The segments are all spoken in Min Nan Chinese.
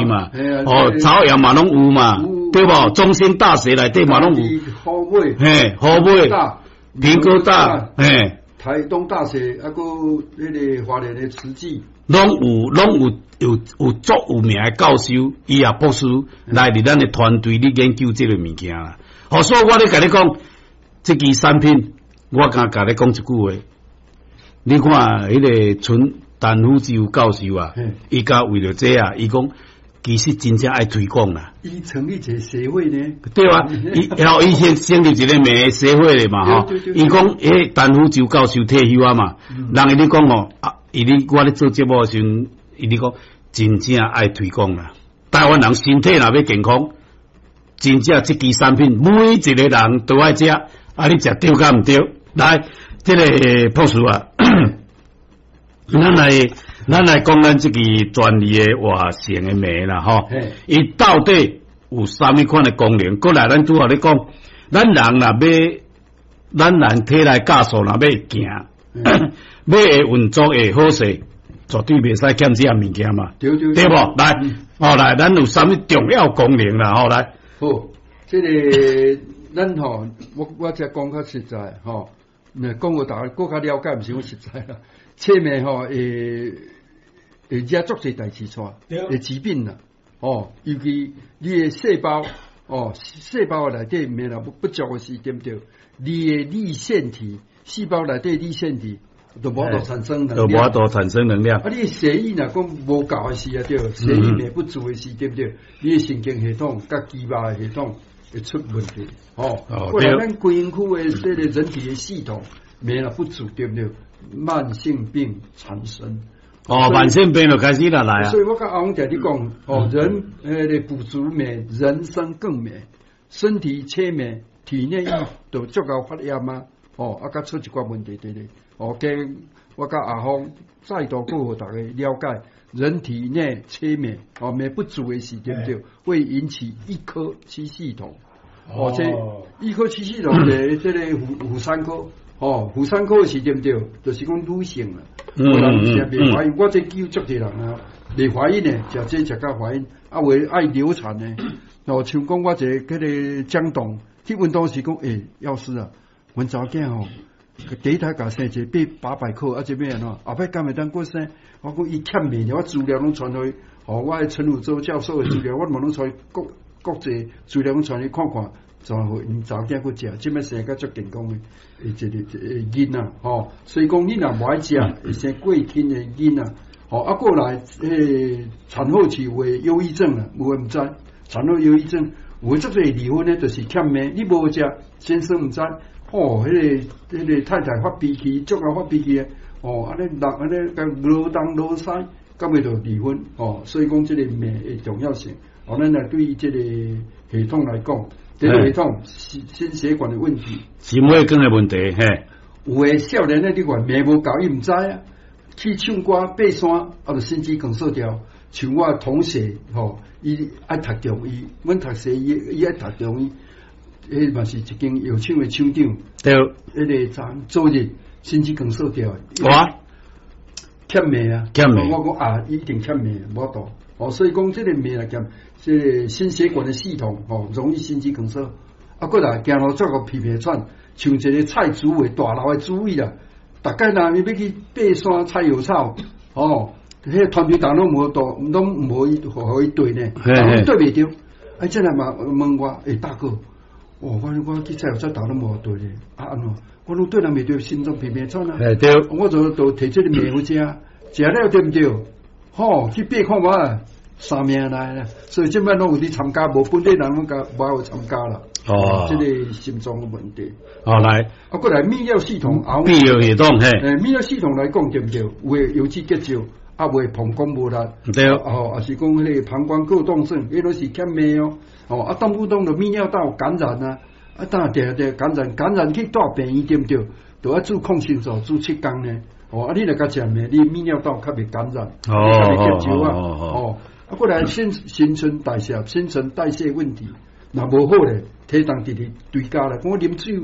嘛，哦，朝陽嘛攏有嘛，對無？中興大學內底嘛攏有，虎尾，嘿，虎尾，屏科大，嘿，台東大學，啊，閣彼個花蓮的慈濟，攏有，攏有有足有名的教授，醫學博士來佇咱的團隊咧研究這個物件啦。好，所以我咧共你講，這支產品，我敢共你講一句話，你看彼個陳陳福洲教授啊，伊家為著這啊，伊講其實真正愛推廣啦。伊成立一個協會呢？對啊，伊然後伊先成立一個咩協會咧嘛吼。伊講，彼陳福洲教授退休啊嘛，人伊咧講哦，啊，伊咧我咧做節目的時陣，伊咧講真正愛推廣啦。台灣人身體若欲健康，真正這支產品每一個人都愛食，啊，你食對佮毋對？來，這個博士啊，咱來講咱這支專利的活性的鎂啦，吼，伊到底有啥物款的功能？過來，咱拄仔咧講，咱人若欲，咱人體內酵素若欲行，欲會運作會好勢，絕對袂使欠這項物件嘛，對對對無？來，哦來，咱有啥物重要功能啦？吼來，好，這個咱吼，我才講較實在吼，那講予大家閣較了解，毋是講實在啦。切鎂吼會惹足濟代誌出來，會疾病啦，哦，尤其你的細胞，哦，細胞內底鎂若不足的時，對毋對？你的粒線體，細胞內底粒線體都無法度產生能量，都無法度產生能量。啊，你血液若講無夠的時啊，對，血液鎂不足的時，對毋對？你的神經系統佮肌肉的系統會出問題，哦。過來咱規身軀的這個人體的系統鎂若不足，對毋對？慢性病產生。哦，慢性病就開始啦來啊！所以我佮阿翁常咧講，哦，人彼個補足鎂，人生更美。身體缺鎂，體內易就足夠發炎啊！哦，啊，佮出一寡問題佇咧。哦，加我佮阿峰再度閣予大家了解，人體內缺鎂，哦，鎂不足的時，對毋對？會引起一科七系統。哦，這一科七系統的這個婦產科，哦，婦產科是對毋對？就是講女性啦。有人是袂懷孕，我這叫足濟人啊，袂懷孕的，食這食甲懷孕，啊有的愛流產的。哦，像講我一個彼個江董去問當時講，欸，藥師啊，阮查某囝吼，第一胎共生一個800克，啊，這欲按怎？後擺敢會當閣生？我講伊欠鎂，我資料攏傳予伊，哦，我的陳汝洲教授的資料，我嘛攏傳國國際資料攏傳伊看看，就予𪜶查某囝閣食，這擺生甲足健康的，一個一個囡仔吼。所以講你若無愛食，會生過輕的囡仔，吼啊過來，彼個產後期有的憂鬱症啊，有的毋知，產後憂鬱症有的足濟離婚呢，就是欠鎂，你無食，先生毋知，哦，彼個太太發脾氣，足𠢕發脾氣的，哦，按呢人按呢共勞東勞西，到尾就離婚，哦，所以講這個鎂的重要性，哦，咱來對這個系統來講，這個系統心血管的問題，心血管的問題，嘿，有的少年的你看鎂無夠，伊毋知啊，去唱歌爬山，啊，就心肌梗塞掉。像我同學吼，伊愛讀中醫，阮讀西醫，伊愛讀中醫，彼嘛是一間藥廠的廠長。彼個昨昨日心肌梗塞掉。哇！欠鎂啊！欠鎂。我講啊，一定欠鎂，無法度。哦，所以講這個鎂來講，這個心血管的系統吼，容易心肌梗塞。啊，過來行路做個皮皮喘，像一個蔡主委大樓的主委啊，逐擺若伊欲去爬山採藥草，哦。彼個團隊逐攏無度，攏無伊予伊綴呢，綴袂著。啊，這來嘛問我，欸，大哥，哦，我去採藥草，逐攏無綴咧，啊按怎？我攏綴人袂著，心臟皮皮喘啊。欸對。我就提這個鎂予食，食了對毋對？吼，去爬看覓，三命來啦。所以這擺攏有佇參加，無本地人攏共無有參加啦。哦。這個心臟的問題。哦，來。啊，過來泌尿系統，泌尿系統嘿。欸，泌尿系統來講對毋對？有的腰子結石。啊，袂膀胱無力，哦，抑是講彼個膀胱過動症，彼攏是欠鎂哦。哦，啊，動不動就泌尿道感染啊，啊，當定定感染，感染去蹛病院對毋對？就愛注抗生素，注7工呢。哦，啊，你若共食鎂，你泌尿道較袂感染，較袂結石啊。哦，啊，過來新陳代謝，新陳代謝問題，若無好咧，體重直直追加啦。講我啉水，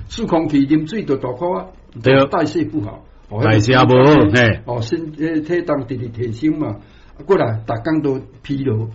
漱空氣，啉水就大箍啊，代謝不好。代謝無好，嘿，哦，身體重直直提升嘛，啊，過來逐工都疲勞。